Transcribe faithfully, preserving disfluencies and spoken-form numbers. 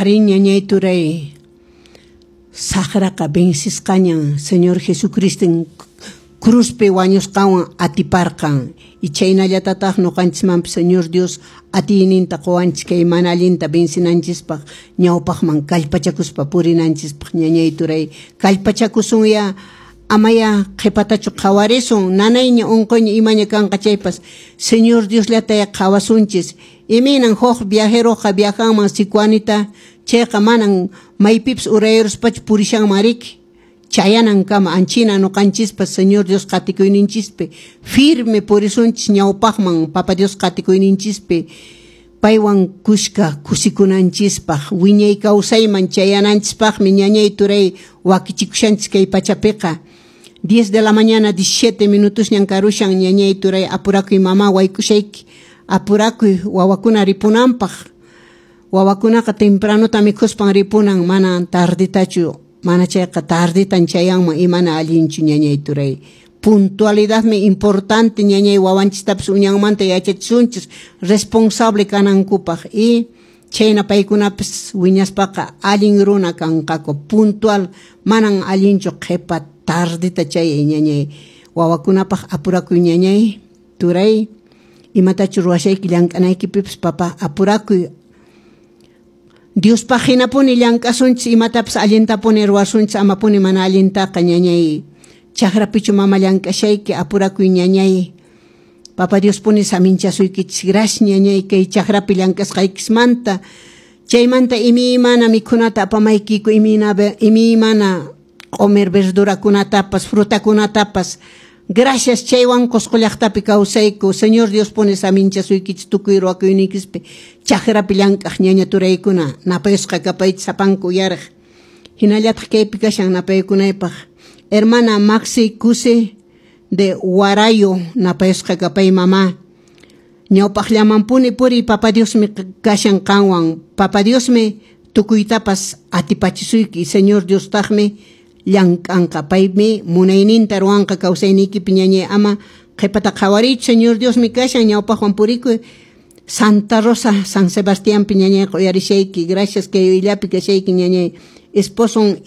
Arí, ñañay turay, saqraqa vencisqañan Señor Jesucriston cruzpi wañusqanwan atiparqan y chaynallatataq ñuqanchismanpas Señor Dios atiyninta quwanchis kay mana allinta vencinanchispaq ñawpaqman kallpachakuspa purinanchispaq. Ñañay turay, kallpachakusunya, amaya qhipatachu qhawarisun. Nanayña, unquyña, imaña kanqa chaypas, Señor Diosllataya qhawasunchis. Imaynan huk viajeroqa viajanman Sicuanita chayqa, manan maypipas urayaruspachu purishanman riki, chayanankama. Anchina ñuqanchispas Señor Dios qatikuyninchispi firme purisunchis ñawpaqman, Papa Dios qatikuyninchispi paywan kushka kusikunanchispaq, wiñay kawsayman chayananchispaqmi, ñañay turay, wakichikushanchis kay pachapiqa. diez de la mañana diecisiete minutos ñan karushan. Ñañay turay, apurakuy, mama wayk'ushayki, apurakuy wawakuna ripunanpaq. Wawakunaqa tempranota mikhuspan ripunan, mana tarditachu, mana chayqa tarditan chayanman, imana allinchu. Ñañay turay, puntualidadmi importante. Ñañay, wawanchistapas uñanmanta yachachisunchis responsable kanankupaq y chayna paykunapas wiñaspaqa allin runa kanqaku. Puntual, manan allinchu qhipa tardita chayay. Ñañay, wawakunapaq apurakuy. Ñañay turay, imatachu ruwashayki llank'anaykipipas, papa, apurakuy. Diospaq hinapuni llank'asunchis, imatapas allintapuni ruwasunchis, amapuni mana allintaqa. Ñañay, chakrapichu mama llank'ashayki? Apurakuy, ñañay. Papa Diospuni saminchasuykichis. Gracias, ñañay, kay chakrapi llank'asqaykismanta. Chaymanta imaymana mikhunata apamaykiku, imayna imaymana q'umir verdurakunatapas, frutakunatapas. Gracias, chaywan Qusqu llaqtapi kawsayku. Señor Dios puni saminchasuykichis tukuy ruwakuyniykispi. Chakrapi llank'aq ñaña turaykuna, napayusqa kapaychis sapanka uyariq. Hinallataq kaypi kashan napaykunaypaq hermana Maxi Cuse de Huarayo, napayusqa kapay, mamá. Ñawpaqllamanpuni puriy, Papa Diosmi kashan qanwan. Papa Diosmi tukuytapas atipachisuyki. Señor Diostaqmi llank'anqa, paymi munayninta ruwanqa kawsayniykipi. Ñañay, ama qhipata qhawariychu, Señor Diosmi kashan, ñawpaqwan purikuy. Santa Rosa, San Sebastiánpi, ñañayqa uyarishayki. Gracias kay uyllapi kashayki, ñañay. Esposon.